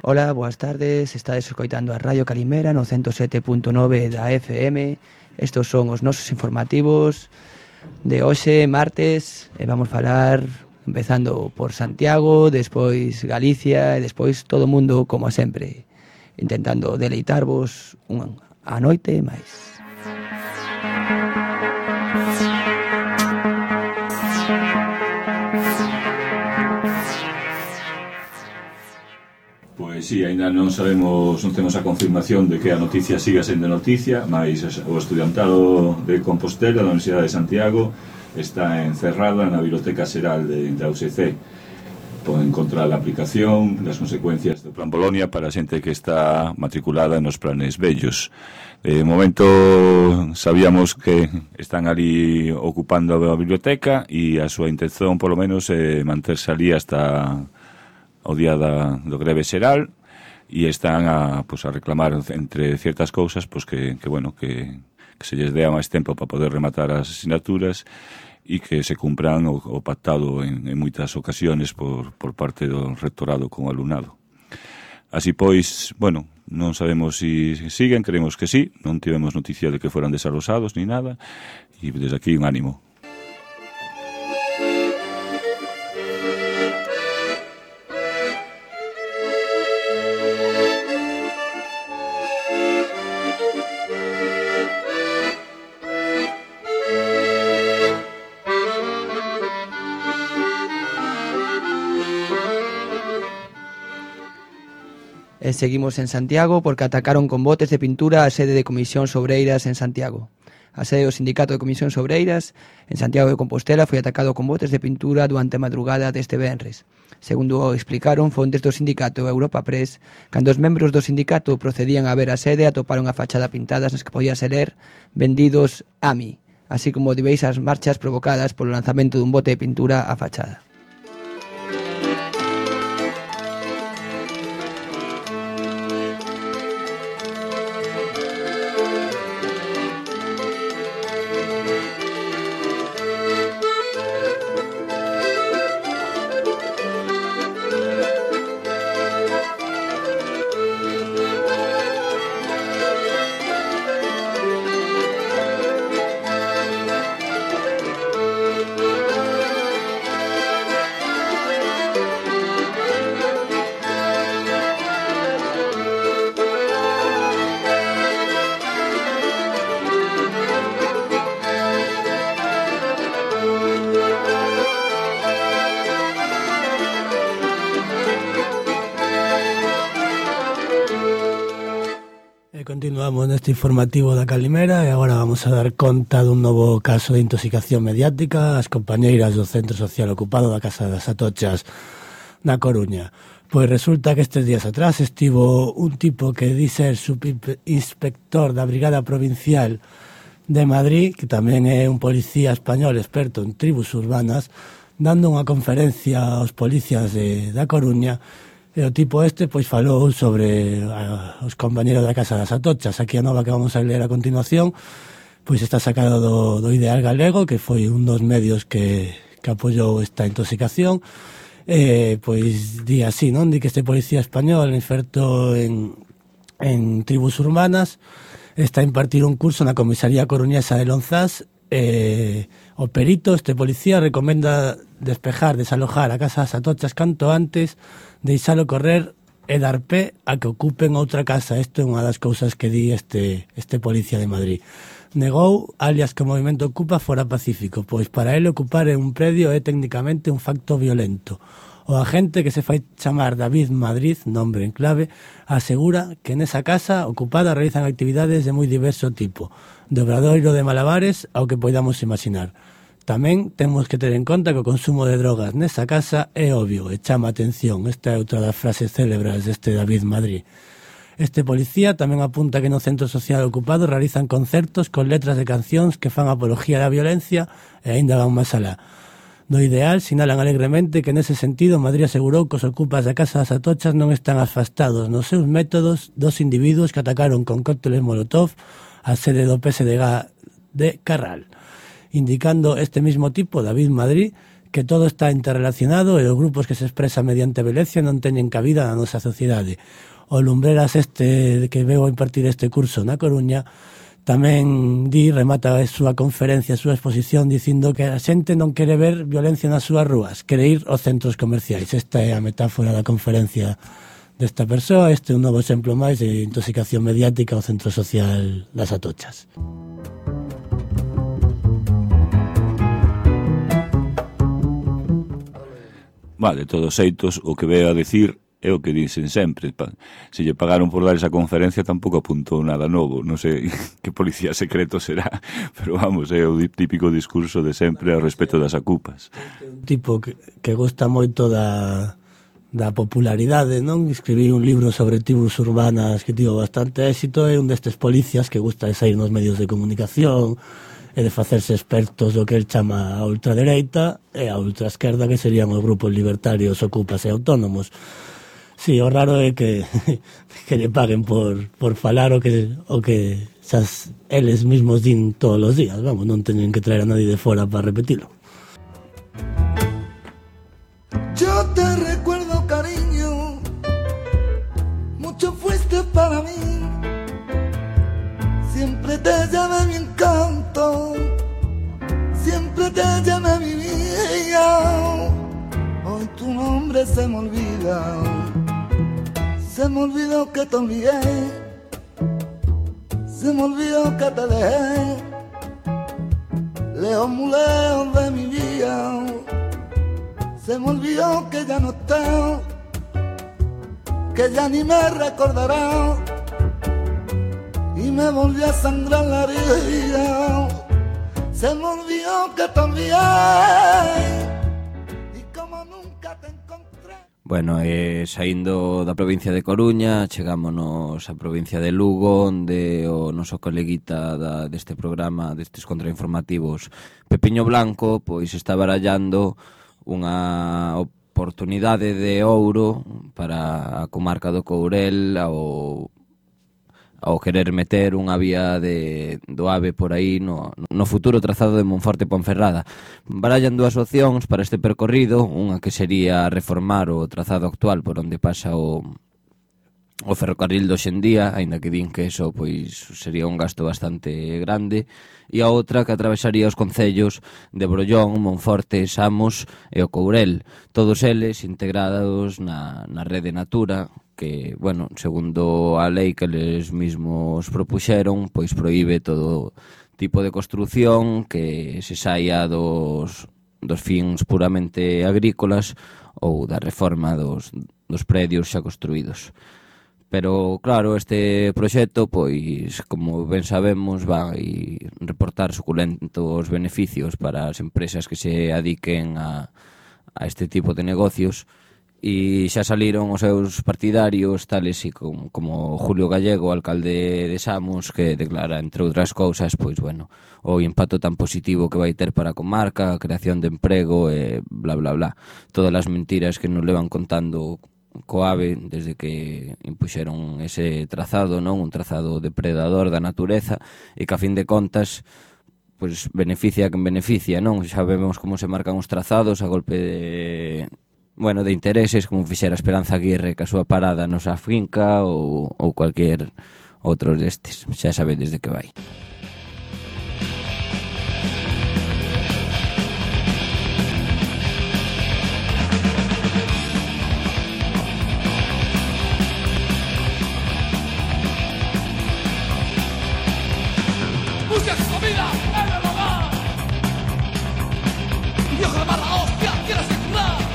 Ola, boas tardes, estades escoitando a Radio Calimera no 107.9 da FM. Estos son os nosos informativos de hoxe, martes, e vamos falar empezando por Santiago, despois Galicia e despois todo o mundo, como sempre, intentando deleitarvos a noite máis. Pois si, ainda non sabemos, non temos a confirmación de que a noticia siga sendo noticia, mas o estudiantado de Compostela da Universidade de Santiago está encerrada na Biblioteca Xeral da UCC. Poden encontrar a aplicación das consecuencias do Plan Bolonia para a xente que está matriculada nos planes vellos. De momento sabíamos que están ali ocupando a biblioteca e a súa intención, polo menos, é manterse ali hasta o día do greve xeral e están a reclamar entre ciertas cousas que se lles dea máis tempo para poder rematar as asignaturas e que se cumpran o pactado en moitas ocasiones por parte do rectorado con o alumnado. Así pois, non sabemos se siguen, creemos que sí, non tivemos noticia de que fueran desalosados ni nada, e desde aquí un ánimo. E seguimos en Santiago porque atacaron con botes de pintura a sede de Comisións Obreiras en Santiago. A sede do Sindicato de Comisións Obreiras en Santiago de Compostela foi atacado con botes de pintura durante a madrugada deste venres. Segundo explicaron fontes do sindicato Europa Press, cando os membros do sindicato procedían a ver a sede atoparon a fachada pintadas nas que podíase ler "Vendidos a mí", así como diversas marchas provocadas polo lanzamento dun bote de pintura á fachada. Continuamos neste informativo da Calimera e agora vamos a dar conta dun novo caso de intoxicación mediática ás compañeiras do Centro Social Ocupado da Casa das Atochas na Coruña. Pois resulta que estes días atrás estivo un tipo que di ser subinspector da Brigada Provincial de Madrid, que tamén é un policía español experto en tribus urbanas, dando unha conferencia aos policías da Coruña. E o tipo pois falou sobre os compañeros da Casa das Atochas. Aquí a nova que vamos a ler a continuación pois está sacado do Ideal Galego, que foi un dos medios que apoiou esta intoxicación. Pois di así, non? Di que este policía español experto en tribus urbanas está a impartir un curso na comisaría coruñesa de Lonzás. O perito, este policía, recomenda desalojar a Casa das Atochas canto antes, deixalo correr e dar pé a que ocupen outra casa. Isto é unha das cousas que di este policía de Madrid. Negou, alias, que o movimento Ocupa fora pacífico, pois para ele ocupar un predio é técnicamente un facto violento. O agente, que se fai chamar David Madrid, nombre en clave, asegura que nesa casa ocupada realizan actividades de moi diverso tipo, de obradoiro de malabares ao que poidamos imaginar. Tamén temos que ter en conta que o consumo de drogas nesa casa é obvio e chama a atención. Esta é outra das frases célebres deste David Madrid. Este policía tamén apunta que no centro social ocupado realizan concertos con letras de cancións que fan apología da violencia e aínda van máis alá. Do ideal, sinalan alegremente que nese sentido Madrid asegurou que os ocupas da Casa das Atochas non están afastados nos seus métodos dos individuos que atacaron con cócteles Molotov a sede do PSDG de Carral, indicando este mismo tipo, David Madrid, que todo está interrelacionado e os grupos que se expresan mediante violencia non teñen cabida na nosa sociedade. O Lumbreras que veu a impartir este curso na Coruña tamén remata a súa conferencia, a súa exposición, dicindo que a xente non quere ver violencia nas súas rúas, quere ir aos centros comerciais. Esta é a metáfora da conferencia desta persoa. Este é un novo exemplo máis de intoxicación mediática ao centro social das Atochas. Vale, todos xeitos, o que veo a decir é o que dicen sempre. Se lle pagaron por dar esa conferencia tampouco apuntou nada novo. Non sei que policía secreto será, pero vamos, é o típico discurso de sempre ao respecto das ocupas. Un tipo que gosta moito da popularidade, non? Escribí un libro sobre tribus urbanas que tivo bastante éxito, é un destes policías que gusta de sair nos medios de comunicación e de facerse expertos do que el chama a ultradereita e a ultraesquerda, que serían os grupos libertarios, ocupas e autónomos. Sí, o raro é que lle paguen por falar o que xas eles mismos din todos os días. Vamos, non teñen que traer a nadie de fora para repetilo. Yo te recuerdo, cariño, mucho fuiste para mí. Siempre te llevé mi encanto, siempre te llevé mi vida. Hoy tu nombre se me olvida. Se me olvidó que te olvidé, se me olvidó que te dejé, lejos, muy lejos de mi vida. Se me olvidó que ya no estás, que ya ni me recordarás, y me volví a sangrar la herida. Se me olvidó que te olvidé, y como nunca te encontré. Bueno, saindo da provincia de Coruña, chegámonos á provincia de Lugo, onde o noso coleguita deste programa, destes contrainformativos, Pepiño Blanco, pois está barallando unha oportunidade de ouro para a comarca do Courel ao querer meter unha vía do AVE por aí no futuro trazado de Monforte Ponferrada. Barallan dúas opcións para este percorrido, unha que sería reformar o trazado actual por onde pasa o ferrocarril do hoxendía, aínda que din que eso pois sería un gasto bastante grande, e a outra que atravesaría os concellos de Brollón, Monforte, Samos e o Courel, todos eles integrados na rede Natura, que, bueno, segundo a lei que eles mismos propuxeron, pois proíbe todo tipo de construción que se saia dos fins puramente agrícolas ou da reforma dos predios xa construídos. Pero, claro, este proxecto, pois, como ben sabemos, vai reportar suculentos beneficios para as empresas que se adiquen a este tipo de negocios, e xa saliron os seus partidarios, tales como Julio Gallego, alcalde de Samos, que declara, entre outras cousas, pois, bueno, o impacto tan positivo que vai ter para a comarca, a creación de emprego e bla, bla, bla. Todas as mentiras que nos levan contando co AVE desde que impuxeron ese trazado, non? Un trazado depredador da natureza e que, a fin de contas, pois beneficia a quen beneficia, non? Xa vemos como se marcan os trazados a golpe de intereses, como fixera Esperanza Aguirre ca súa parada nosa finca ou cualquier outro destes. Xa sabedes de que vai. Buscas comida en el hogar. Dios de mala hostia, quieres curar.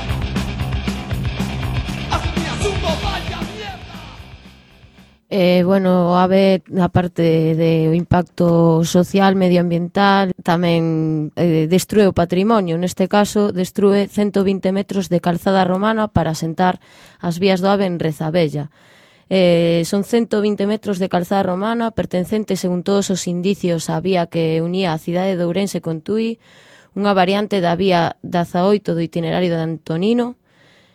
Bueno, o AVE, aparte do impacto social, medioambiental, tamén destrue o patrimonio. Neste caso, destrue 120 metros de calzada romana para asentar as vías do AVE en Rezabella. Son 120 metros de calzada romana pertencente, según todos os indicios, á vía que unía a cidade de Ourense con Tui, unha variante da vía 18 do itinerario de Antonino,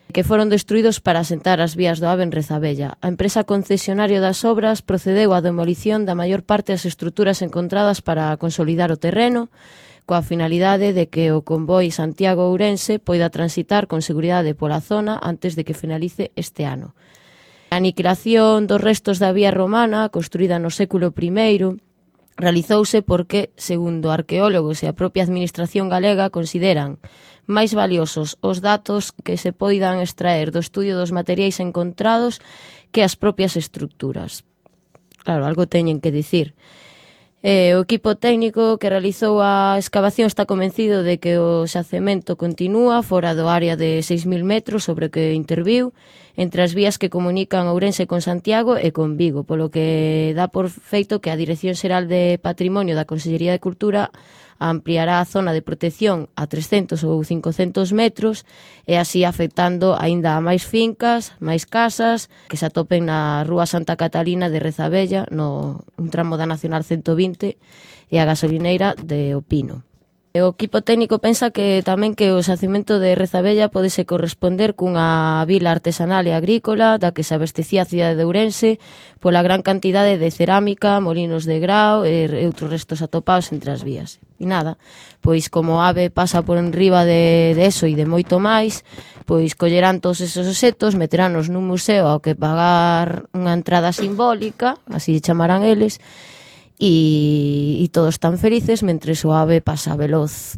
que foron destruídos para asentar as vías do AVE en Rezabella. A empresa concesionaria das obras procedeu á demolición da maior parte das estruturas encontradas para consolidar o terreno, coa finalidade de que o convoi Santiago-Ourense poida transitar con seguridade pola zona antes de que finalice este ano. A aniquilación dos restos da vía romana, construída no século I, realizouse porque, segundo arqueólogos e a propia administración galega, consideran máis valiosos os datos que se poidan extraer do estudio dos materiais encontrados que as propias estruturas. Claro, algo teñen que dicir. O equipo técnico que realizou a escavación está convencido de que o xacemento continúa fora do área de 6.000 metros sobre o que interviu entre as vías que comunican Ourense con Santiago e con Vigo, polo que dá por feito que a Dirección Xeral de Patrimonio da Consellería de Cultura ampliará a zona de protección a 300 ou 500 metros e así afectando aínda a máis fincas, máis casas que se atopen na Rúa Santa Catalina de Rezabella, no un tramo da Nacional 120 e a gasolineira de Opino. O equipo técnico pensa que tamén que o xacemento de Rezabella podese corresponder cunha vila artesanal e agrícola da que se abastecía a cidade de Ourense pola gran cantidade de cerámica, molinos de grao e outros restos atopados entre as vías. E nada, pois como o AVE pasa por enriba de eso e de moito máis, pois collerán todos esos obxectos, meterános nun museo ao que pagar unha entrada simbólica, así chamarán eles, e todos están felices mentres o AVE pasa veloz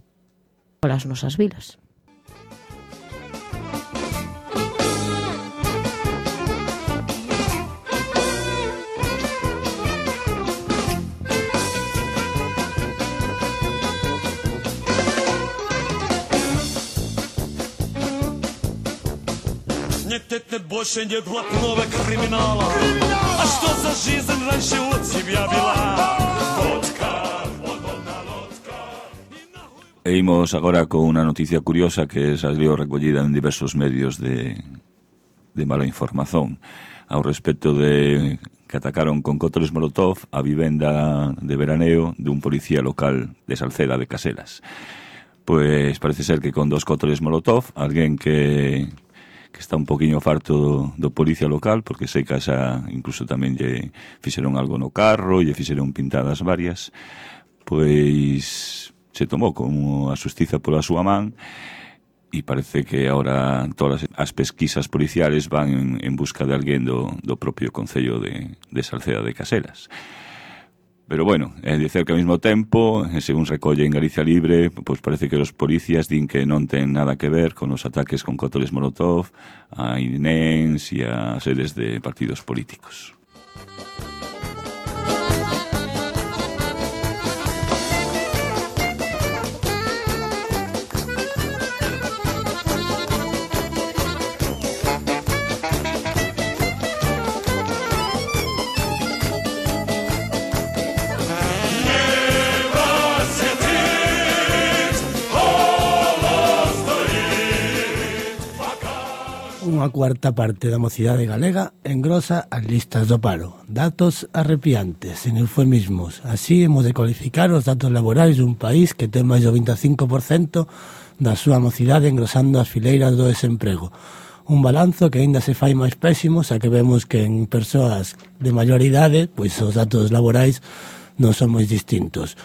polas nosas vilas. Нет больше нет блатного криминала. А что за жизнь раньше от тебя вела? Водка, водная лодка. E imos agora con unha noticia curiosa que salió recollida en diversos medios de mala información ao respecto de que atacaron con cócteles Molotov a vivenda de veraneo dun policía local de Salceda de Caselas. Pois parece ser que con 2 cócteles Molotov, alguén que está un poquinho farto do policía local, porque sei que esa incluso tamén lle fixeron algo no carro, lle fixeron pintadas varias, pois se tomou como a xustiza pola súa man e parece que ahora todas as pesquisas policiales van en busca de alguén do propio Concello de Salceda de Caselas. Pero bueno, é dicer que ao mesmo tempo, según recolle en Galicia Libre, pois parece que os policías din que non ten nada que ver con os ataques con cócteles Molotov a INENS e a sedes de partidos políticos. Unha cuarta parte da mocidade galega engrosa as listas do paro. Datos arrepiantes, en eufemismos. Así hemos de cualificar os datos laborais dun país que ten máis do 25% da súa mocidade engrosando as fileiras do desemprego. Un balanzo que aínda se fai máis pésimo, xa que vemos que en persoas de maior idade, pois os datos laborais non son moi distintos.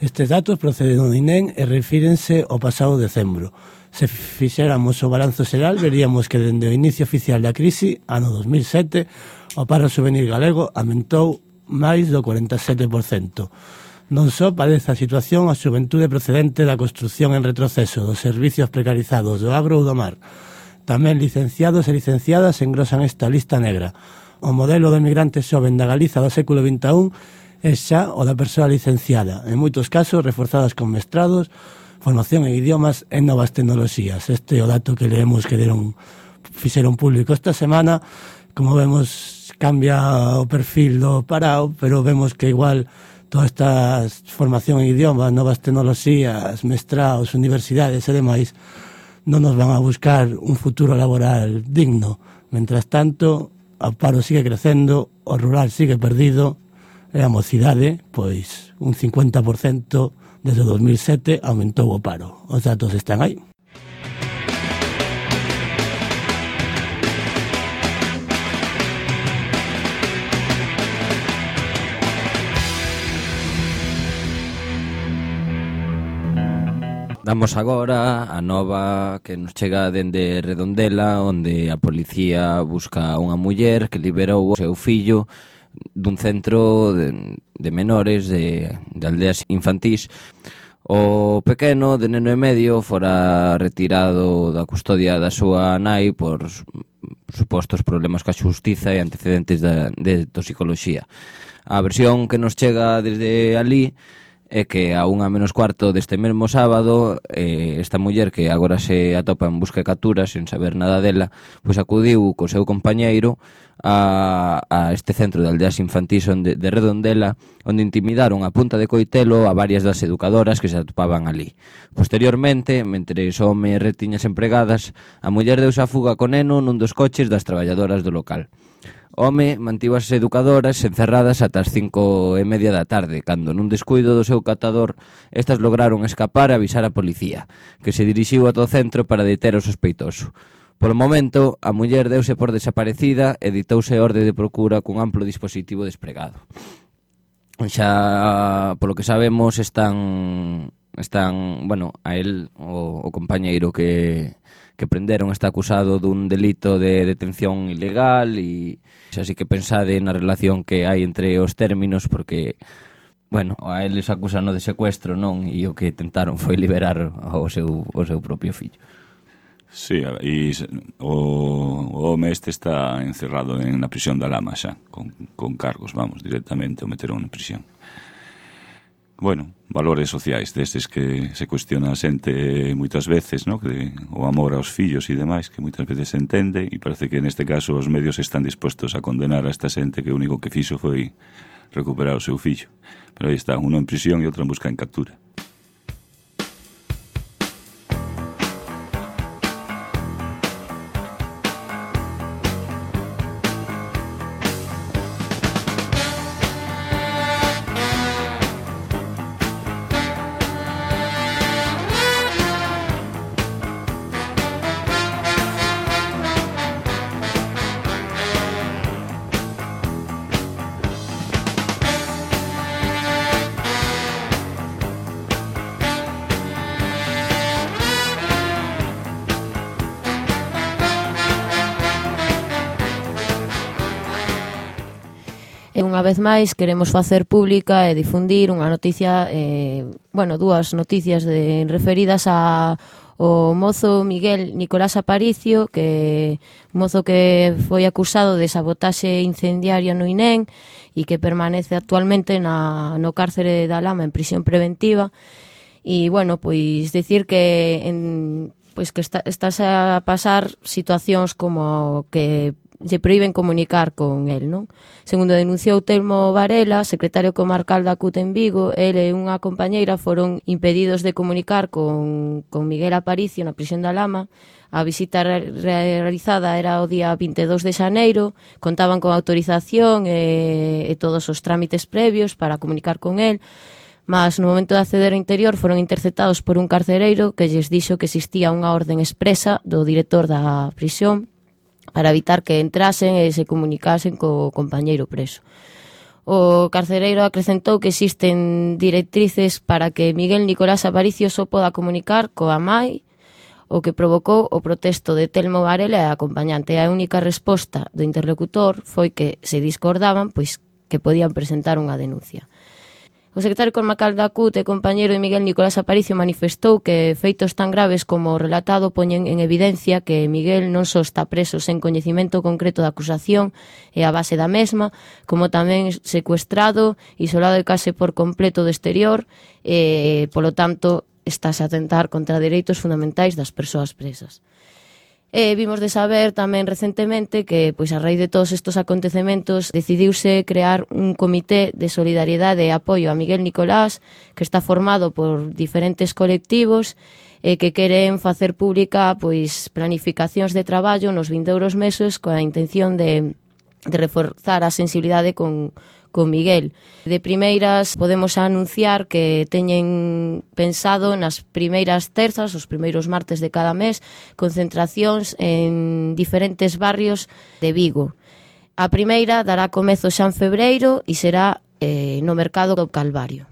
Estes datos proceden do INEN e refírense ao pasado decembro. Se fixéramos o balanzo xeral, veríamos que dende o inicio oficial da crise, ano 2007, o paro juvenil galego aumentou máis do 47%. Non só padece a situación a xuventude procedente da construción en retroceso, dos servicios precarizados do agro ou do mar. Tamén licenciados e licenciadas engrosan esta lista negra. O modelo de migrante xoven da Galiza do século XXI é xa o da persoa licenciada, en moitos casos reforzadas con mestrados, formación en idiomas e novas tecnoloxías. Este é o dato que leemos que fixeron público esta semana. Como vemos cambia o perfil do parao, pero vemos que igual toda esta formación en idiomas, novas tecnoloxías, mestraos, universidades e demais non nos van a buscar un futuro laboral digno. Mentras tanto, o paro sigue crecendo, o rural sigue perdido e a mocidade, pois, un 50% desde 2007 aumentou o paro. Os datos están aí. Damos agora a nova que nos chega dende Redondela, onde a policía busca unha muller que liberou o seu fillo dun centro de menores de aldeas infantís. O pequeno, de neno e medio, fora retirado da custodia da súa nai por supostos problemas ca xustiza e antecedentes de toxicoloxía. A versión que nos chega desde ali é que a 1:15 deste mesmo sábado esta muller, que agora se atopa en busca e captura sen saber nada dela, pois acudiu co seu compañeiro a este centro de aldeas infantís de Redondela, onde intimidaron a punta de coitelo a varias das educadoras que se atopaban ali. Posteriormente, mentre o home retiña as empregadas, a muller deuse a fuga con neno nun dos coches das traballadoras do local. O home mantivo as educadoras encerradas ata as 5:30 da tarde, cando nun descuido do seu catador estas lograron escapar e avisar a policía, que se dirixiu ata o centro para deter o sospeitoso. Polo momento, a muller deuse por desaparecida e ditouse orde de procura cun amplo dispositivo desplegado. Xa, polo que sabemos, están bueno, a él, o compañeiro que prenderon, está acusado dun delito de detención ilegal e xa sí que pensade na relación que hai entre os términos, porque, bueno, a eles acusan de secuestro, non? E o que tentaron foi liberar o seu propio fillo. Sí, e o home este está encerrado na prisión da Lama xa, con cargos, vamos, directamente o meteron na prisión. Bueno, valores sociais destes que se cuestiona a xente moitas veces, ¿no? Que o amor aos fillos e demais, que moitas veces se entende, e parece que neste caso os medios están dispostos a condenar a esta xente que o único que fixo foi recuperar o seu fillo. Pero aí está, uno en prisión e outro en busca en captura. E unha vez máis queremos facer pública e difundir unha noticia, dúas noticias referidas ao mozo Miguel Nicolás Aparicio, que mozo que foi acusado de sabotaxe incendiaria no INEM e que permanece actualmente no cárcere da Lama en prisión preventiva. E, bueno, pois dicir que estás a pasar situacións como que lle proíben comunicar con el, non? Segundo denunciou Telmo Varela, secretario comarcal da CUT en Vigo, el e unha compañeira foron impedidos de comunicar con Miguel Aparicio na prisión da Lama. A visita realizada era o día 22 de xaneiro, contaban con autorización e todos os trámites previos para comunicar con el, mas no momento de acceder ao interior foron interceptados por un carcereiro que lles dixo que existía unha orden expresa do director da prisión para evitar que entrasen e se comunicasen co compañeiro preso. O carcereiro acrecentou que existen directrices para que Miguel Nicolás Aparicio só poda comunicar coa mai, o que provocou o protesto de Telmo Varela e a acompañante. A única resposta do interlocutor foi que se discordaban, pois que podían presentar unha denuncia. O secretario comarcal da CUT e compañeiro de Miguel Nicolás Aparicio manifestou que feitos tan graves como o relatado poñen en evidencia que Miguel non só está preso sen coñecimento concreto da acusación e a base da mesma, como tamén secuestrado, isolado e case por completo do exterior, e, polo tanto, estáse a atentar contra dereitos fundamentais das persoas presas. Vimos de saber tamén recentemente que, pois, a raíz de todos estes acontecementos, decidiuse crear un comité de solidariedade e apoio a Miguel Nicolás, que está formado por diferentes colectivos que queren facer pública, pois, planificacións de traballo nos vindouros meses coa intención de reforzar a sensibilidade con Miguel. De primeiras podemos anunciar que teñen pensado nas primeiras terzas, os primeiros martes de cada mes, concentracións en diferentes barrios de Vigo. A primeira dará comezo xa en febreiro e será no Mercado do Calvario.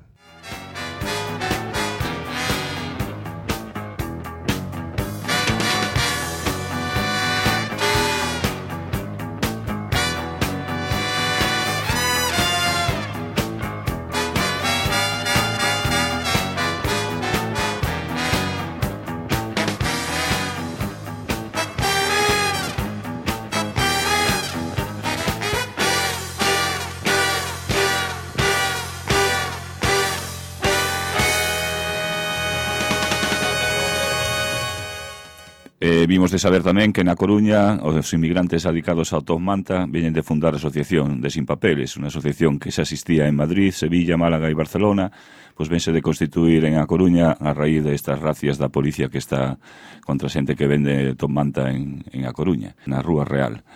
Vimos de saber tamén que na Coruña os inmigrantes adicados ao Top Manta veñen de fundar a Asociación de Sin Papeles, unha asociación que xa existía en Madrid, Sevilla, Málaga e Barcelona, pois vense de constituir en A Coruña a raíz destas racias da policía que está contra xente que vende Top Manta en A Coruña, na Rúa Real.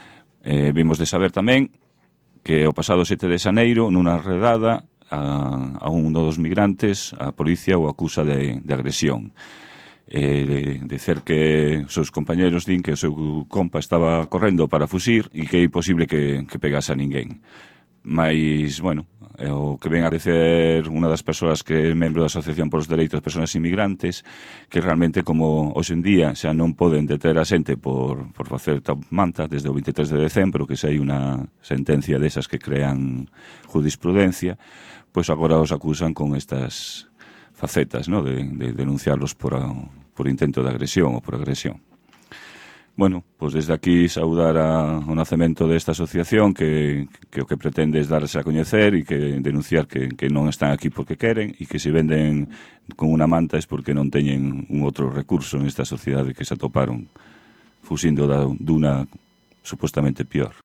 Vimos de saber tamén que o pasado 7 de xaneiro, nunha redada a un dos migrantes, a policía o acusa de agresión. Dicer que os seus compañeros din que o seu compa estaba correndo para fusir e que é imposible que pegase a ninguén. Mais, bueno, o que ven a dicer unha das persoas que é membro da Asociación polos Dereitos das Persoas Inmigrantes, que realmente como hoxe en día xa non poden deter a xente por facer Top Manta desde o 23 de decembro, que xa hai unha sentencia desas que crean jurisprudencia, pois agora os acusan con estas facetas, ¿no? de denunciarlos por intento de agresión ou por agresión. Bueno, pois desde aquí saudar o nacemento desta asociación que o que pretende é darse a coñecer e que denunciar que non están aquí porque queren e que se venden con unha manta é porque non teñen un outro recurso nesta sociedade que se atoparon fuxindo duna supostamente pior.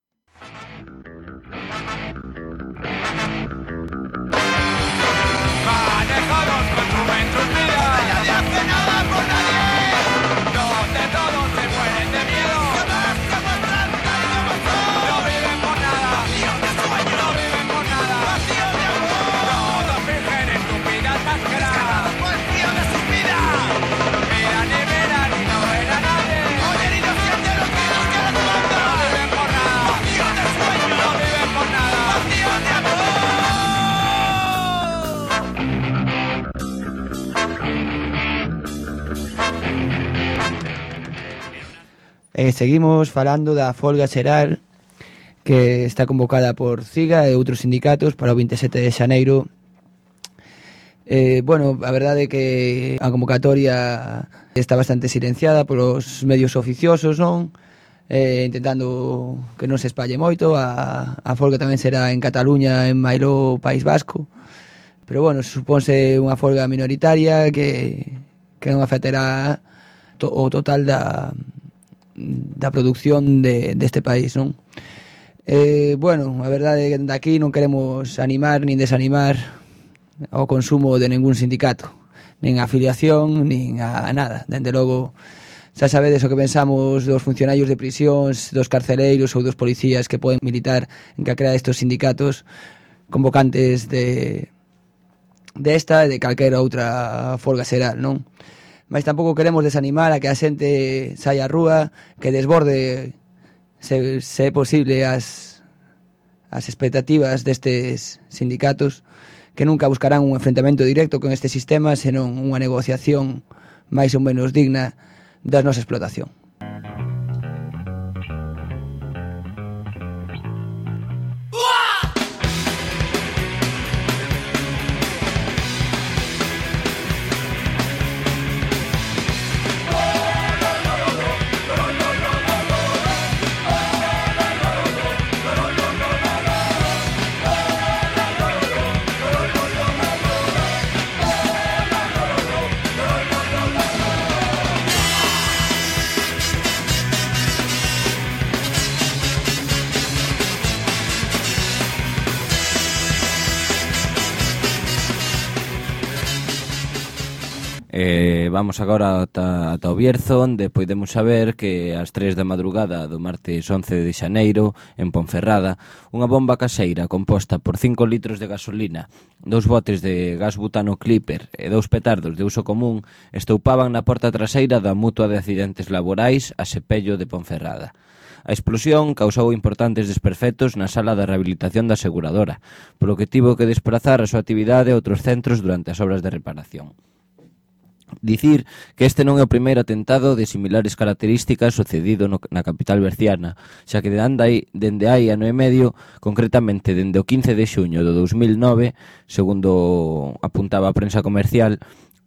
Seguimos falando da folga xeral que está convocada por CIGA e outros sindicatos para o 27 de xaneiro. Bueno, a verdade é que a convocatoria está bastante silenciada polos medios oficiosos, non? Intentando que non se espalle moito. A folga tamén será en Cataluña, en Mailó, País Vasco. Pero, bueno, supónse unha folga minoritaria que non afectará o total da produción deste país, non? Bueno, a verdade é que daqui non queremos animar nin desanimar ao consumo de ningún sindicato, nin a afiliación, nin a nada. Dende logo, xa sabedes o que pensamos dos funcionarios de prisións, dos carceleiros ou dos policías que poden militar en calquera destes sindicatos convocantes desta e de calquera outra folga xeral, non? Mas tampouco queremos desanimar a que a xente saia á rúa, que desborde, se é posible, as expectativas destes sindicatos, que nunca buscarán un enfrentamento directo con este sistema, senón unha negociación máis ou menos digna da nosa explotación. Vamos agora ata o Bierzo, onde podemos saber que ás 3 da madrugada do martes 11 de xaneiro, en Ponferrada, unha bomba caseira composta por 5 litros de gasolina, 2 botes de gas butano Clipper e 2 petardos de uso común estoupaban na porta traseira da Mutua de Accidentes Laborais a Sepello de Ponferrada. A explosión causou importantes desperfectos na sala da rehabilitación da aseguradora, polo que tivo que desplazar a súa actividade a outros centros durante as obras de reparación. Dicir que este non é o primeiro atentado de similares características sucedido na capital berciana, xa que dende hai ano e medio, concretamente dende o 15 de xuño do 2009, segundo apuntaba a prensa comercial,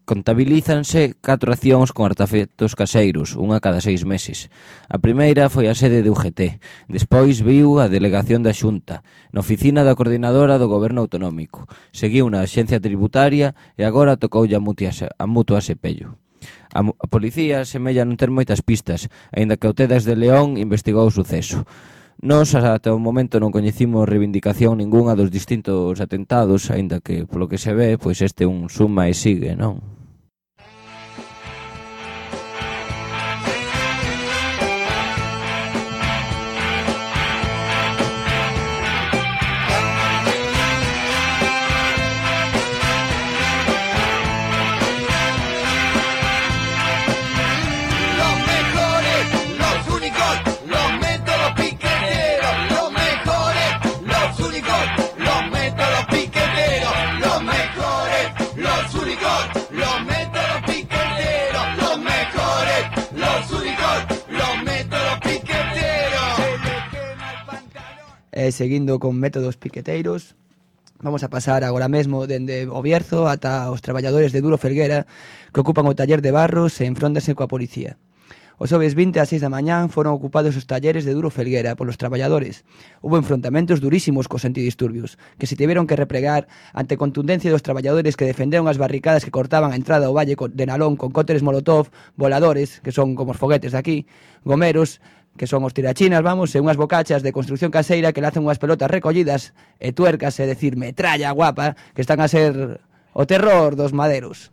contabilízanse 4 accións con artefactos caseiros, unha cada 6 meses. A primeira foi a sede de UGT, despois viu a delegación da Xunta, na oficina da coordinadora do Goberno Autonómico, seguiu na Axencia Tributaria e agora tocoulle a Mutua Sepello. A policía semella non ter moitas pistas, aínda que o Tedas de León investigou o suceso. Nós, ata o momento, non coñecimos reivindicación ningunha dos distintos atentados, aínda que, polo que se ve, pois este un suma e sigue, non? Seguindo con métodos piqueteiros, vamos a pasar agora mesmo dende o Bierzo ata os traballadores de Duro Felguera que ocupan o taller de Barros e enfróntanse coa policía. Os xoves 20 ás 6 da mañán foron ocupados os talleres de Duro Felguera polos traballadores. Hubo enfrontamentos durísimos cos antidisturbios, que se tiveron que replegar ante contundencia dos traballadores que defenderon as barricadas que cortaban a entrada ao valle de Nalón con cócteles molotov, voladores, que son como os foguetes de aquí, gomeros, que son os tirachinas, vamos, e unhas bocachas de construcción caseira que lanzan unhas pelotas recollidas e tuercas, é decir, metralla guapa, que están a ser o terror dos maderos.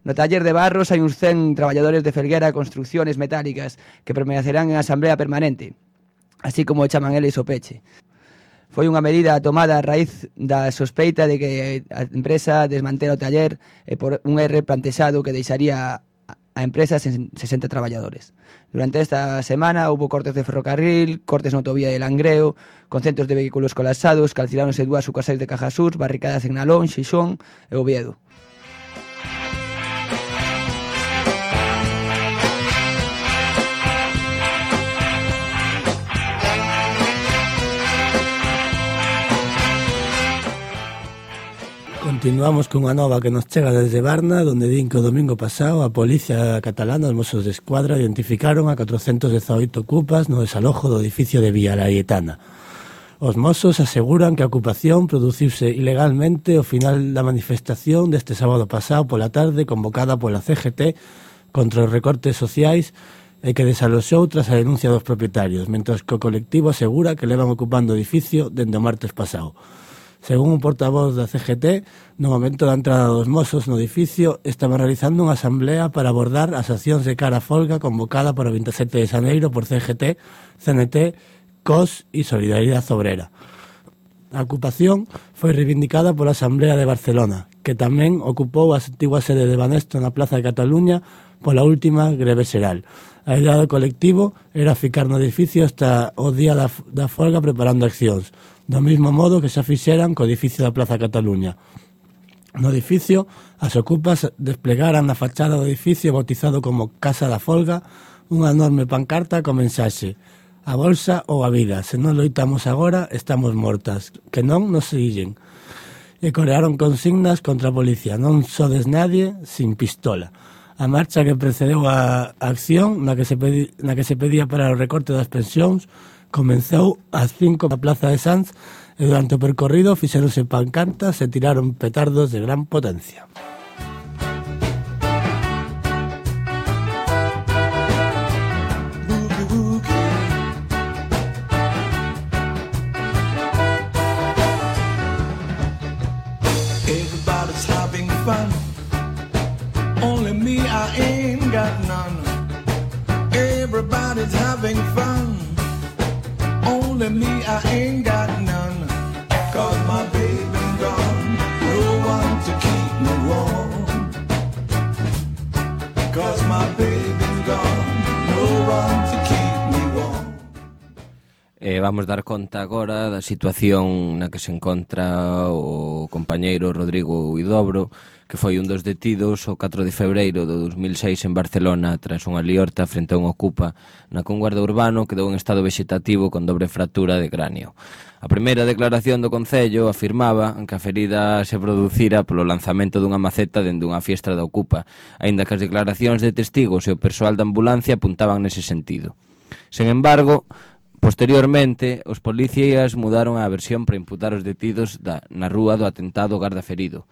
No taller de Barros hai uns 100 traballadores de Felguera Construcciones Metálicas que permanecerán en asamblea permanente, así como chaman eles o peche. Foi unha medida tomada a raíz da sospeita de que a empresa desmantela o taller e por un erre plantexado que deixaría a empresa sen 60 traballadores. Durante esta semana houve cortes de ferrocarril, cortes na autovía de Langreo, con centros de vehículos colapsados, calciláronse 2 sucursais de Caja Sur, barricadas en Nalón, Xixón e Oviedo. Continuamos cunha nova que nos chega desde Barna, donde din que o domingo pasado a Policía Catalana, os Mossos de Escuadra, identificaron a 418 ocupas no desalojo do edificio de Villa Laietana. Os Mossos aseguran que a ocupación produciuse ilegalmente ao final da manifestación deste sábado pasado pola tarde convocada pola CGT contra os recortes sociais e que desaloxou tras a denuncia dos propietarios, mentras que o colectivo asegura que levan ocupando o edificio dende o martes pasado. Según un portavoz da CGT, no momento da entrada dos Mossos no edificio, estaban realizando unha asamblea para abordar as accións de cara a folga convocada para o 27 de xaneiro por CGT, CNT, COS e Solidaridade Obrera. A ocupación foi reivindicada pola Asamblea de Barcelona, que tamén ocupou a antigua sede de Banesto na Plaza de Cataluña pola última greve xeral. A idea do colectivo era ficar no edificio hasta o día da folga preparando accións, do mesmo modo que xa fixeran co edificio da Plaza Cataluña. No edificio, as ocupas desplegaran na fachada do edificio bautizado como Casa da Folga unha enorme pancarta con mensaxe: a bolsa ou a vida, se non loitamos agora, estamos mortas, que non nos siguen. E corearon consignas contra a policía: non sodes nadie sin pistola. A marcha que precedeu a acción na que se pedía para o recorte das pensións comenzou ás 5 da Plaza de Sanz e durante o percorrido fixeronse pancartas e tiraron petardos de gran potencia. Everybody's having fun, only me Everybody's having fun. Only me, I ain't got none. 'Cause my baby's gone. No one to keep me warm. 'Cause my baby's gone. No one to keep me warm. Vamos dar conta agora da situación na que se encontra o compañeiro Rodrigo Huidobro, que foi un dos detidos o 4 de febreiro do 2006 en Barcelona tras unha liorta frente a un ocupa na que un guarda urbano quedou en estado vegetativo con dobre fractura de cráneo. A primeira declaración do Concello afirmaba que a ferida se producira polo lanzamento dunha maceta dende unha fiestra da ocupa, aínda que as declaracións de testigos e o persoal da ambulancia apuntaban nese sentido. Sen embargo, posteriormente, os policías mudaron a versión para imputar os detidos na rúa do atentado garda ferido.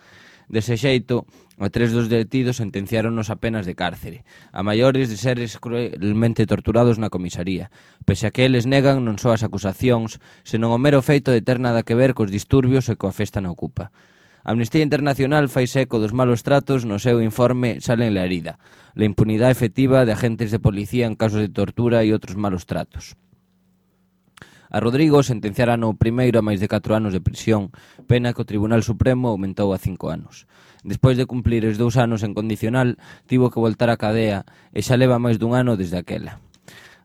Dese xeito, a 3 dos detidos sentenciáronos a penas de cárcere, a maiores de seres cruelmente torturados na comisaría, pese a que eles negan non só as acusacións, senón o mero feito de ter nada que ver cos disturbios e coa festa na ocupa. A Amnistía Internacional fai eco dos malos tratos no seu informe Sale en la herida, la impunidade efectiva de agentes de policía en casos de tortura e outros malos tratos. A Rodrigo sentenciaran o primeiro a máis de 4 anos de prisión, pena que o Tribunal Supremo aumentou a 5 anos. Despois de cumplir os 2 anos en condicional, tivo que voltar á cadea e xa leva máis dun ano desde aquela.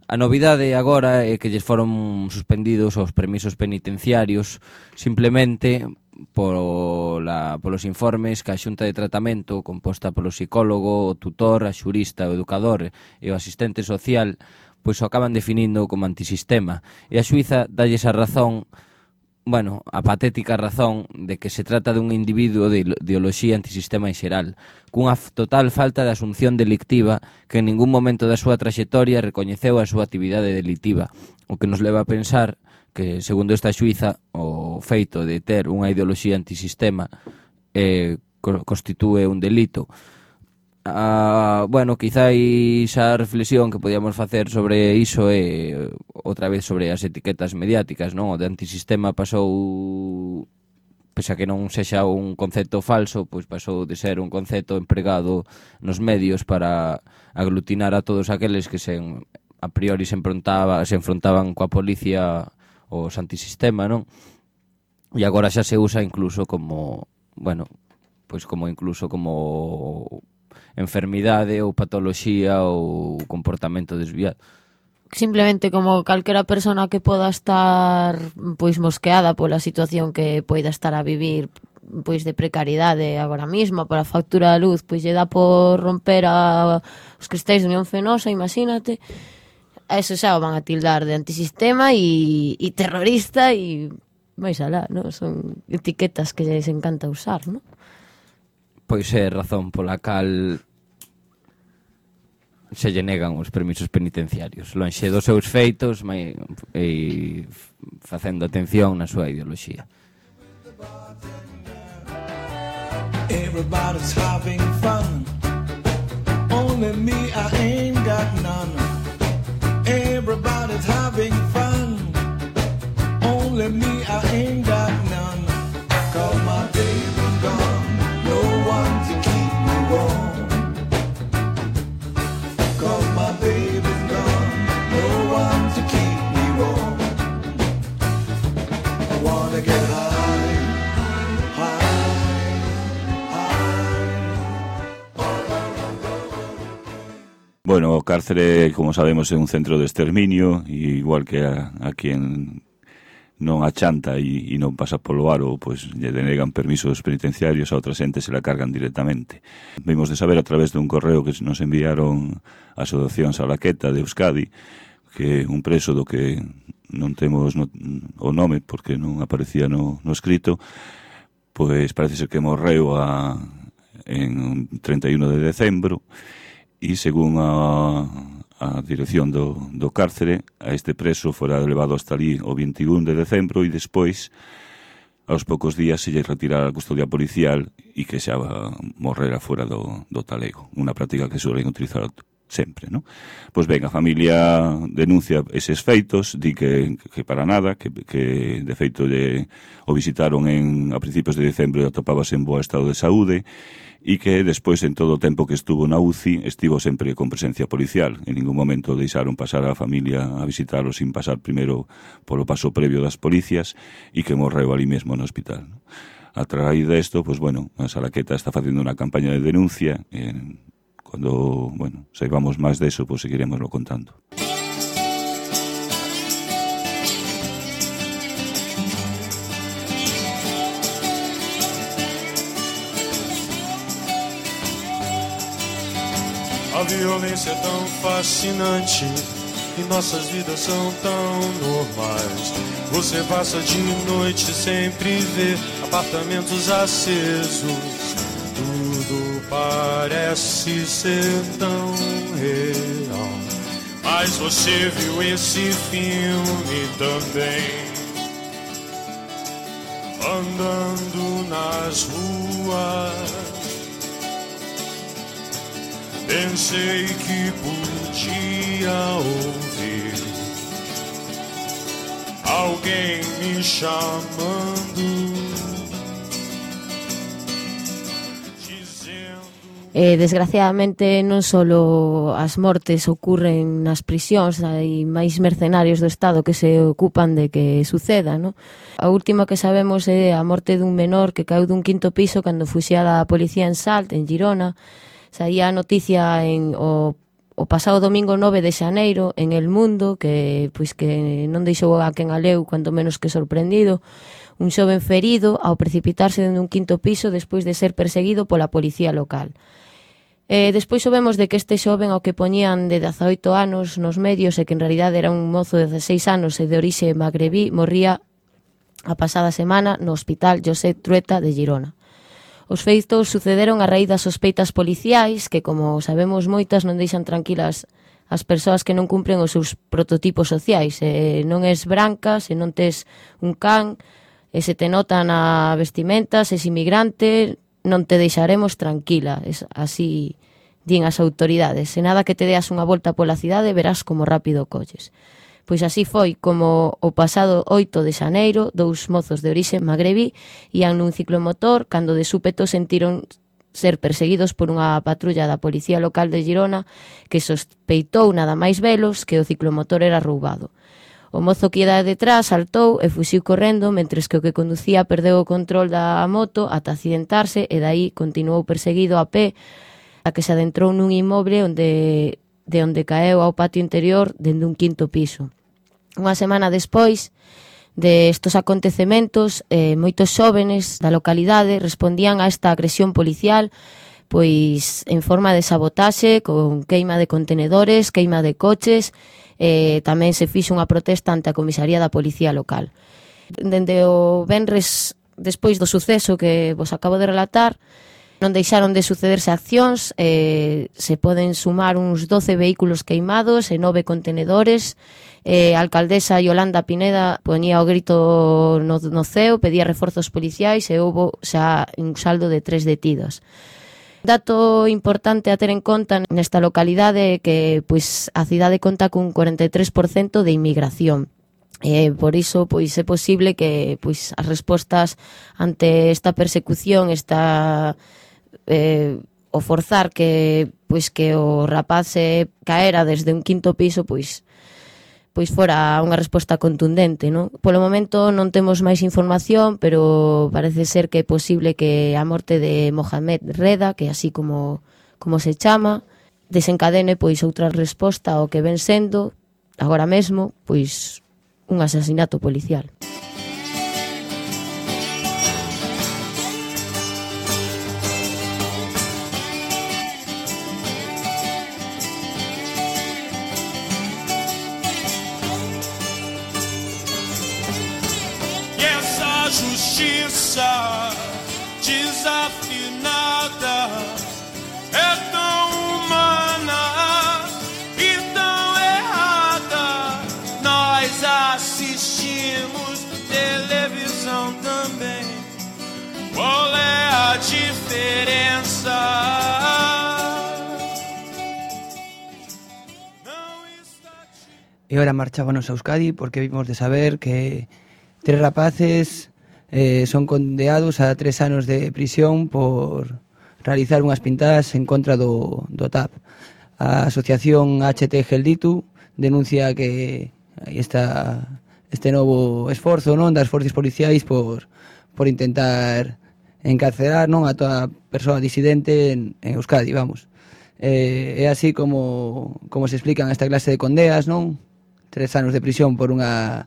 A novidade agora é que lles foron suspendidos os permisos penitenciarios simplemente polos informes que a Xunta de Tratamento, composta polo psicólogo, o tutor, a xurista, o educador e o asistente social, pois o acaban definindo como antisistema, e a xuíza dalles a razón, a patética razón de que se trata dun individuo de ideoloxía antisistema en xeral, cunha total falta de asunción delictiva que en ningún momento da súa traxectoria recoñeceu a súa actividade delictiva, o que nos leva a pensar que, segundo esta xuíza, o feito de ter unha ideoloxía antisistema constitúe un delito. Quizáis a reflexión que podíamos facer sobre iso é outra vez sobre as etiquetas mediáticas, non? O de antisistema pasou, pese a que non sexa un concepto falso, pois pasou de ser un concepto empregado nos medios para aglutinar a todos aqueles que a priori se enfrontaban coa policía os antisistema, non? E agora xa se usa incluso como, como enfermidade ou patoloxía ou comportamento desviado. Simplemente como calquera persona que poda estar mosqueada pola situación que poida estar a vivir de precariedade agora mesmo, pola factura da luz, lle dá por romper os cristais de Unión Fenosa, imagínate. A eso xa o van a tildar de antisistema e terrorista e máis alá, non? Son etiquetas que lles encanta usar, non? Pois é razón pola cal se lle negan os permisos penitenciarios, lonxe dos seus feitos e facendo atención na súa ideoloxía. Everybody's having fun. Only me, I ain't got none. Everybody's having fun. Only me, I ain't got none. 'Cause my baby's gone. No one to keep me warm. 'Cause my baby's gone. No one to keep me warm. I wanna get high, Bueno, o cárcere, como sabemos, é un centro de exterminio, e igual que a quien non achanta e non pasa polo aro, pois lle denegan permisos penitenciarios, a outras entes se la cargan directamente. Vimos de saber a través dun correo que nos enviaron a Asociación Salaqueta de Euskadi, que un preso do que non temos o nome porque non aparecía no escrito, pois parece ser que morreu en 31 de decembro, e según a dirección do cárcere, a este preso fora levado hasta ali o 21 de decembro e despois, aos poucos días, se lle retirara a custodia policial e que xa morrera fora do talego. Unha práctica que suelen utilizar sempre, non? Pois ben, a familia denuncia eses feitos, di que para nada, que de feito o visitaron a principios de decembro e atopábase en boa estado de saúde, e que despois, en todo o tempo que estuvo na UCI, estivo sempre con presencia policial. En ningún momento deixaron pasar a familia a visitarlo sin pasar primeiro polo paso previo das policias, e que morreu ali mesmo no hospital, non? A través desto, pois, bueno, a Salaqueta está facendo unha campaña de denuncia. Cando, bueno, saibamos máis deso, pois seguiremoslo contando. A violência é tão fascinante e nossas vidas são tão normais. Você passa de noite sempre vê apartamentos acesos. Tudo parece ser tão real. Mas você viu esse filme também, andando nas ruas. Pensei que podia ouvir alguém me chamando, Desgraciadamente non só as mortes ocurren nas prisións, hai máis mercenarios do Estado que se ocupan de que suceda, non? A última que sabemos é a morte dun menor que caeu dun 5º piso cando fuxía da policía en Salt, en Girona. Saía a noticia o pasado domingo 9 de xaneiro en El Mundo, que non deixou a quen a leu, cuanto menos que sorprendido, un xoven ferido ao precipitarse dende un 5º piso despois de ser perseguido pola policía local. Despois soubemos de que este xoven ao que poñían de 18 anos nos medios e que en realidade era un mozo de 16 anos e de orixe magrebí, morría a pasada semana no hospital Josep Trueta de Girona. Os feitos sucederon a raíz das sospeitas policiais que, como sabemos moitas, non deixan tranquilas as persoas que non cumpren os seus prototipos sociais. Se non és branca, se non tes un can, e se te nota na vestimenta, se és inmigrante, non te deixaremos tranquila. Así din as autoridades. Se nada que te deas unha volta pola cidade, verás como rápido colles. Pois así foi como o pasado 8 de xaneiro, 2 mozos de orixe magrebí ían nun ciclomotor cando de súpeto sentiron ser perseguidos por unha patrulla da policía local de Girona que sospeitou nada máis velos que o ciclomotor era roubado. O mozo que ia detrás saltou e fuxiu correndo, mentres que o que conducía perdeu o control da moto ata accidentarse e dai continuou perseguido a pé a que se adentrou nun inmoble de onde caeu ao patio interior dende un 5º piso. Unha semana despois de estos acontecementos, moitos xóvenes da localidade respondían a esta agresión policial pois en forma de sabotaxe, con queima de contenedores, queima de coches, tamén se fixo unha protesta ante a comisaría da policía local. Dende o venres despois do suceso que vos acabo de relatar, non deixaron de sucederse accións, se poden sumar uns 12 vehículos queimados e 9 contenedores. A alcaldesa Yolanda Pineda poñía o grito no ceo, pedía reforzos policiais e houbo xa un saldo de 3 detidos. Dato importante a ter en conta nesta localidade é que a cidade conta cun 43% de inmigración. Por iso é posible que as respostas ante esta persecución, o forzar que o rapaz se caera desde un 5º piso, fora unha resposta contundente, non? Polo momento non temos máis información, pero parece ser que é posible que a morte de Mohamed Reda, que así como se chama, desencadene outra resposta ao que ven sendo agora mesmo un asesinato policial. Justiça desafinada é tão humana e tão errada. Nós assistimos televisão também. Qual é a diferença? E ahora marchábanos a Euskadi porque vimos de saber que 3 rapaces son condeados a 3 anos de prisión por realizar unhas pintadas en contra do TAP. A asociación HT Gelditu denuncia que aí está este novo esforzo, non, das forzas policiais por intentar encarcerar, non, a toda persoa disidente en Euskadi, vamos. É así como se explican esta clase de condeas, non? 3 anos de prisión por unha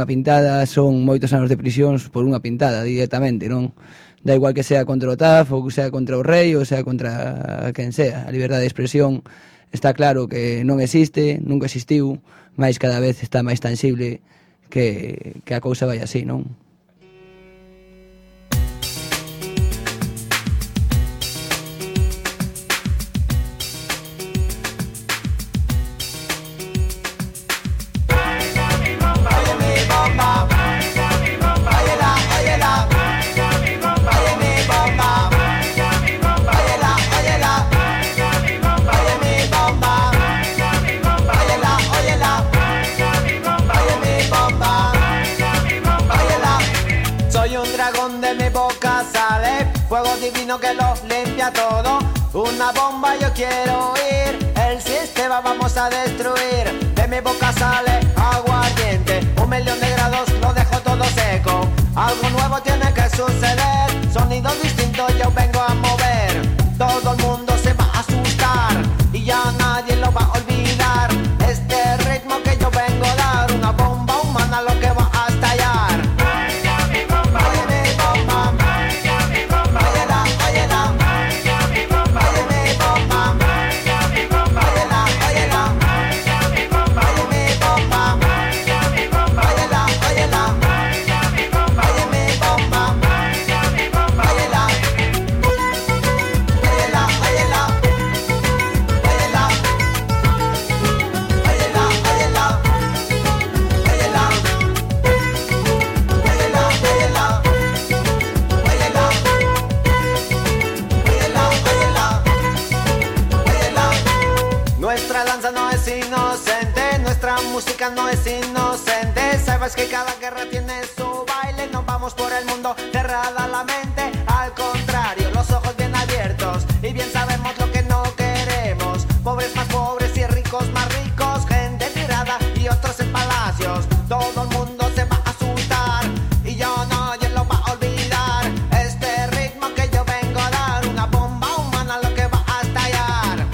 pintada son moitos anos de prisión por unha pintada directamente, non? Da igual que sea contra o TAF ou que sea contra o rei ou sea contra quen sea. A liberdade de expresión está claro que non existe, nunca existiu, mas cada vez está máis tangible que a cousa vai así, non? Fuego divino que lo limpia todo. Una bomba yo quiero oír. El sistema vamos a destruir. De mi boca sale agua ardiente. 1.000.000 de grados lo dejo todo seco. Algo nuevo tiene que suceder. Sonidos distintos yo vengo a mover. Todo el mundo se va a asustar y ya nadie lo va a olvidar. Este ritmo que yo vengo a dar, una bomba humana lo que va a estallar. Música no es inocente, sabes que cada guerra tiene su baile, no vamos por el mundo cerrada la mente, al contrario, los ojos bien abiertos y bien sabemos lo que no queremos, pobres más pobres y ricos más ricos, gente tirada y otros en palacios, todo el mundo se va a asustar y yo nadie lo va a olvidar, este ritmo que yo vengo a dar, una bomba humana lo que va a estallar.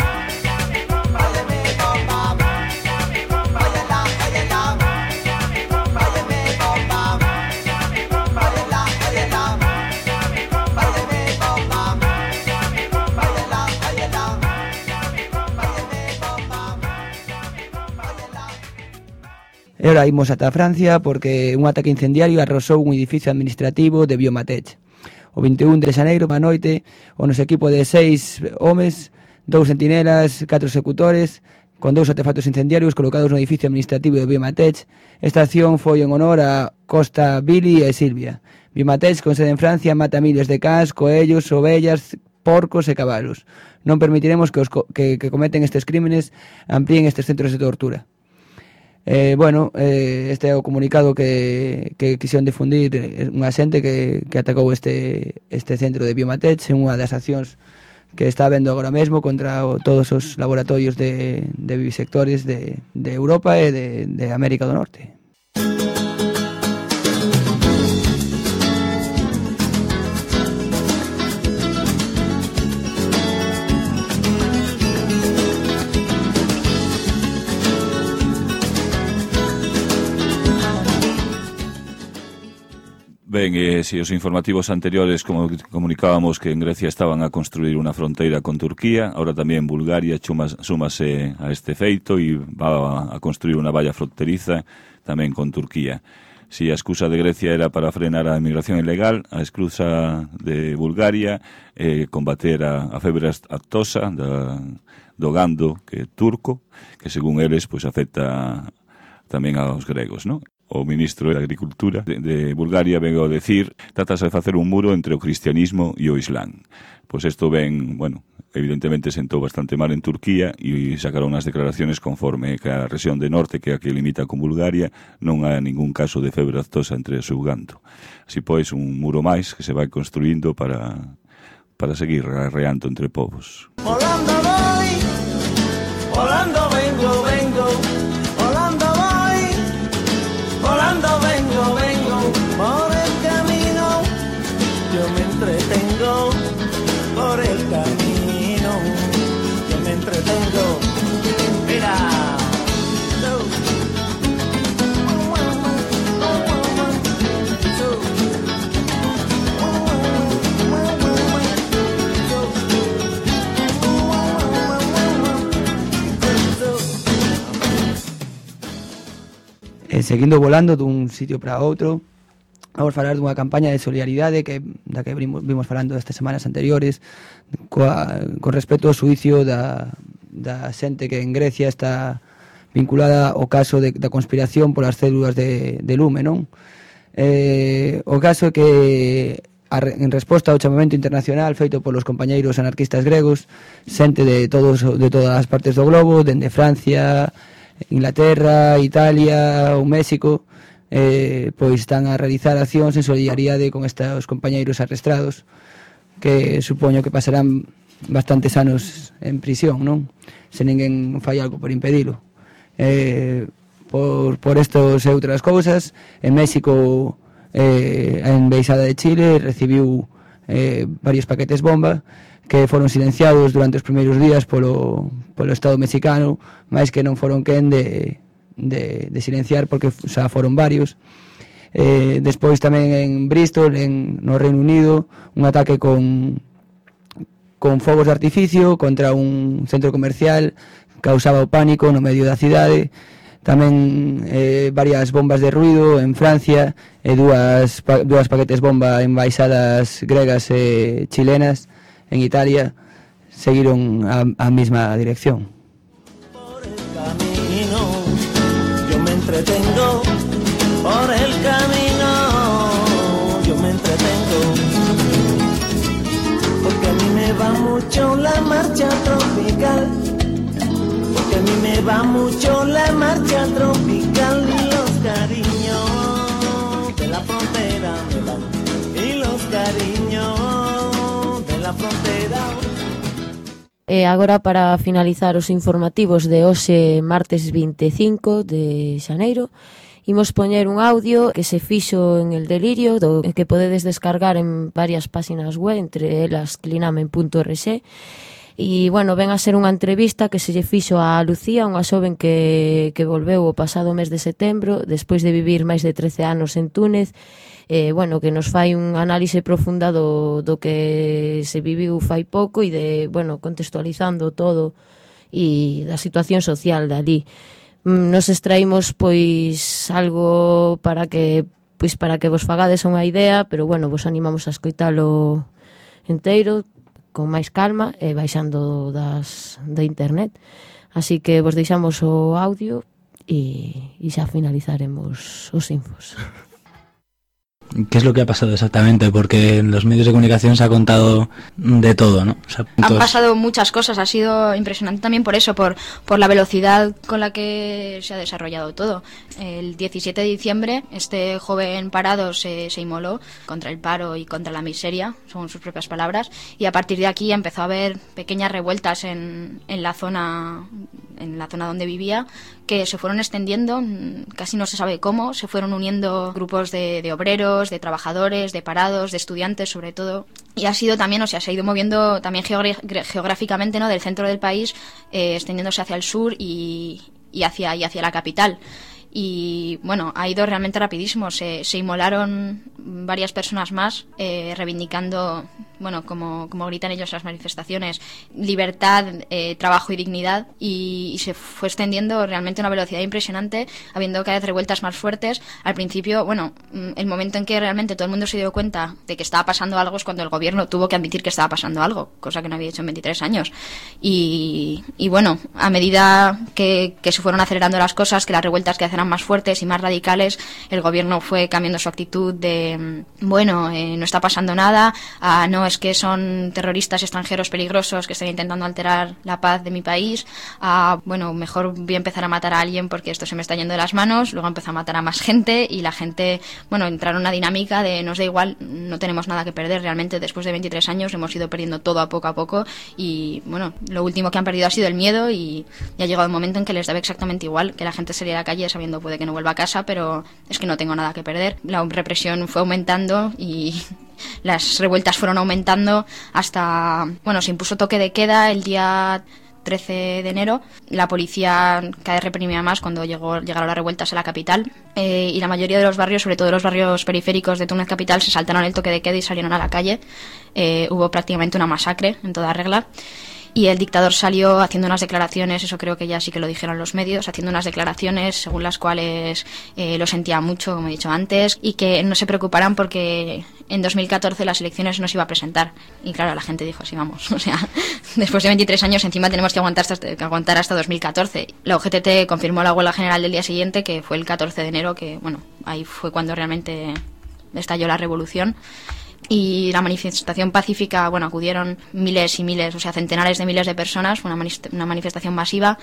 Oye mi bomba, E ora imos ata Francia porque un ataque incendiario arrasou un edificio administrativo de Biomatech. O 21 de xaneiro, a noite, o noso equipo de 6 homes, 2 sentinelas, 4 executores, con 2 artefactos incendiarios colocados no edificio administrativo de Biomatech. Esta acción foi en honor a Costa, Billy e Silvia. Biomatech, con sede en Francia, mata miles de cans, coellos, ovellas, porcos e cabalos. Non permitiremos que cometen estes crímenes amplíen estes centros de tortura. Este é o comunicado que quixeron difundir unha xente que atacou este centro de Biomatech en unha das accións que está habendo agora mesmo contra todos os laboratorios de vivisectores de Europa e de América do Norte. Ben, si os informativos anteriores como comunicábamos que en Grecia estaban a construir unha fronteira con Turquía, ahora tamén Bulgaria súmase a este feito e va a construir unha valla fronteriza tamén con Turquía. Si a excusa de Grecia era para frenar a emigración ilegal, a excusa de Bulgaria combater a febre aftosa do gando que é turco, que según eles pois afecta tamén aos gregos, non? O ministro de Agricultura de Bulgaria vengo a decir, tratase de facer un muro entre o cristianismo e o islán. Pois isto ven, evidentemente sentou bastante mal en Turquía e sacaron as declaraciones conforme que a rexión de norte, que é a que limita con Bulgaria, non hai ningún caso de febre aftosa entre o seu ganto. Así pois, un muro máis que se vai construindo para seguir arreando entre povos. Volando voy, volando vengo, volando voy, volando vengo, por el camino, yo me entretengo, por el camino, yo me entretengo, mira. Seguindo volando dun sitio para outro, vamos falar dunha campaña de solidaridade da que vimos falando estas semanas anteriores con respecto ao suicio da xente que en Grecia está vinculada ao caso da conspiración polas células de lume, non? O caso é que en resposta ao chamamento internacional feito polos compañeiros anarquistas gregos, xente de todas as partes do globo, dende Francia, Inglaterra, Italia ou México, pois están a realizar accións en solidaridade con estes compañeiros arrestados, que supoño que pasarán bastantes anos en prisión, non? Se ninguén fai algo por impedilo. Por estos e outras cousas, en México, a Embaixada de Chile recibiu varios paquetes bomba que foron silenciados durante os primeiros días polo Estado mexicano, máis que non foron quen de silenciar, porque xa foron varios. Despois tamén en Bristol, no Reino Unido, un ataque con fogos de artificio contra un centro comercial, causaba o pánico no medio da cidade. Tamén varias bombas de ruido en Francia, e dúas paquetes bomba en embaixadas gregas e chilenas en Italia seguiron a mesma dirección. Por el camino, yo me entretengo, por el camino, yo me entretengo, porque a mí me va mucho la marcha tropical, porque a mí me va mucho la marcha tropical y los cariños de la frontera me van, y los cariños la frontera. E agora, para finalizar os informativos de hoxe, martes 25 de xaneiro, imos poñer un audio que se fixo en El Delirio, que podedes descargar en varias páxinas web, entre elas clinamen.org. E, bueno, ven a ser unha entrevista que se lle fixo a Lucía, unha xoven que volveu o pasado mes de setembro, despois de vivir máis de 13 anos en Túnez, bueno, que nos fai un análise profunda do que se viviu fai pouco e de, bueno, contextualizando todo e da situación social dali. Nos extraímos pois algo para que vos fagades unha idea, pero bueno, vos animamos a escoitalo enteiro con máis calma e baixando da internet. Así que vos deixamos o audio e xa finalizaremos os infos. ¿Qué es lo que ha pasado exactamente? Porque en los medios de comunicación se ha contado de todo, ¿no? O sea, han pasado muchas cosas, ha sido impresionante también por eso, por la velocidad con la que se ha desarrollado todo. El 17 de diciembre este joven parado se inmoló contra el paro y contra la miseria, son sus propias palabras, y a partir de aquí empezó a haber pequeñas revueltas en la zona donde vivía, que se fueron extendiendo, casi no se sabe cómo, se fueron uniendo grupos de obreros, de trabajadores, de parados, de estudiantes sobre todo, y ha sido también, o sea, se ha ido moviendo también geográficamente, ¿no?, del centro del país, extendiéndose hacia el sur y hacia la capital. Y bueno, ha ido realmente rapidísimo. Se inmolaron varias personas más, reivindicando, bueno, como gritan ellos en las manifestaciones, libertad, trabajo y dignidad, y se fue extendiendo realmente a una velocidad impresionante, habiendo cada vez revueltas más fuertes. Al principio, bueno, el momento en que realmente todo el mundo se dio cuenta de que estaba pasando algo es cuando el gobierno tuvo que admitir que estaba pasando algo, cosa que no había hecho en 23 años. Y bueno, a medida que se fueron acelerando las cosas, que las revueltas que hacían más fuertes y más radicales, el gobierno fue cambiando su actitud de, bueno, no está pasando nada, a no, no, es que son terroristas extranjeros peligrosos que están intentando alterar la paz de mi país, a, bueno, mejor voy a empezar a matar a alguien porque esto se me está yendo de las manos. Luego empezó a matar a más gente y la gente, bueno, entraron en una dinámica de nos da igual, no tenemos nada que perder. Realmente después de 23 años hemos ido perdiendo todo a poco y, bueno, lo último que han perdido ha sido el miedo y ya ha llegado un momento en que les daba exactamente igual que la gente saliera a la calle sabiendo puede que no vuelva a casa, pero es que no tengo nada que perder. La represión fue aumentando y las revueltas fueron aumentando hasta, bueno, se impuso toque de queda el día 13 de enero. La policía cada vez reprimía más cuando llegaron las revueltas a la capital, y la mayoría de los barrios, sobre todo los barrios periféricos de Túnez capital, se saltaron el toque de queda y salieron a la calle. Hubo prácticamente una masacre en toda regla. Y el dictador salió haciendo unas declaraciones, eso creo que ya sí que lo dijeron los medios, haciendo unas declaraciones según las cuales lo sentía mucho, como he dicho antes, y que no se preocuparan porque en 2014 las elecciones no se iba a presentar. Y claro, la gente dijo, sí, vamos, o sea, después de 23 años encima tenemos que aguantar hasta 2014. La UGT confirmó la huelga general del día siguiente, que fue el 14 de enero, que bueno, ahí fue cuando realmente estalló la revolución. Y la manifestación pacífica, bueno, acudieron miles y miles, o sea, centenares de miles de personas, fue una manifestación masiva,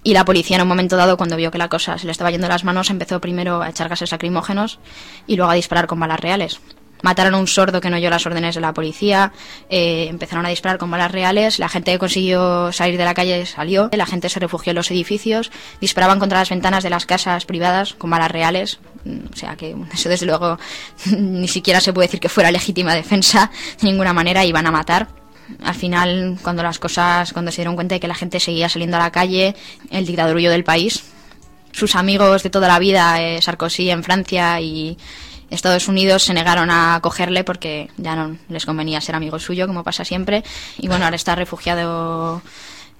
y la policía en un momento dado, cuando vio que la cosa se le estaba yendo de las manos, empezó primero a echar gases lacrimógenos y luego a disparar con balas reales. Mataron a un sordo que no oyó las órdenes de la policía, empezaron a disparar con balas reales, la gente que consiguió salir de la calle salió, la gente se refugió en los edificios, disparaban contra las ventanas de las casas privadas con balas reales, o sea que eso desde luego ni siquiera se puede decir que fuera legítima defensa, de ninguna manera iban a matar. Al final, cuando se dieron cuenta de que la gente seguía saliendo a la calle, el dictador huyó del país. Sus amigos de toda la vida, Sarkozy en Francia y Estados Unidos, se negaron a acogerle porque ya no les convenía ser amigo suyo, como pasa siempre. Y bueno, ahora está refugiado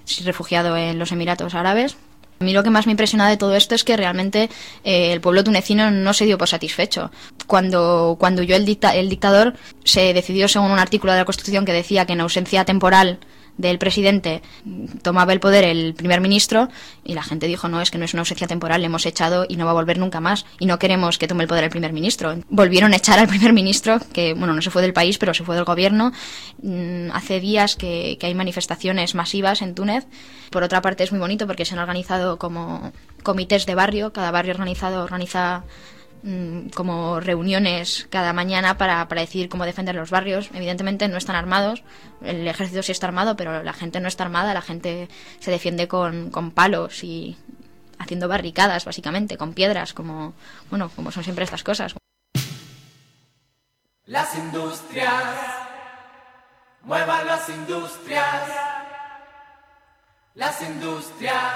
en los Emiratos Árabes. A mí lo que más me impresiona de todo esto es que realmente el pueblo tunecino no se dio por satisfecho. Cuando huyó el dictador, se decidió según un artículo de la Constitución que decía que en ausencia temporal del presidente tomaba el poder el primer ministro, y la gente dijo, no, es que no es una ausencia temporal, le hemos echado y no va a volver nunca más y no queremos que tome el poder el primer ministro. Volvieron a echar al primer ministro, que bueno, no se fue del país pero se fue del gobierno. Hace días que hay manifestaciones masivas en Túnez. Por otra parte es muy bonito porque se han organizado como comités de barrio, cada barrio organiza como reuniones cada mañana para decidir cómo defender los barrios. Evidentemente no están armados, el ejército sí está armado, pero la gente no está armada, la gente se defiende con palos y haciendo barricadas, básicamente, con piedras, como son siempre estas cosas. Las industrias, muevan las industrias, las industrias,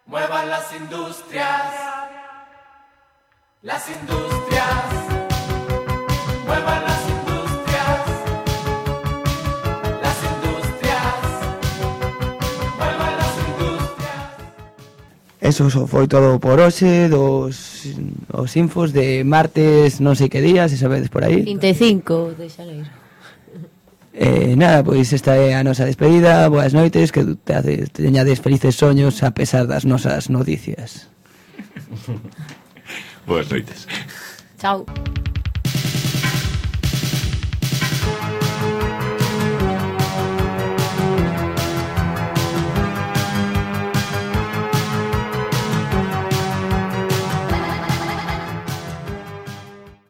muevan las industrias. Las industrias, muevan las industrias. Las industrias, muevan las industrias. Eso foi todo por hoxe, os infos de martes non sei que día, se sabedes por aí. 25 de xaneiro. Nada, pois esta é a nosa despedida. Boas noites, que teñades felices soños a pesar das nosas noticias. Boas noites. Chao.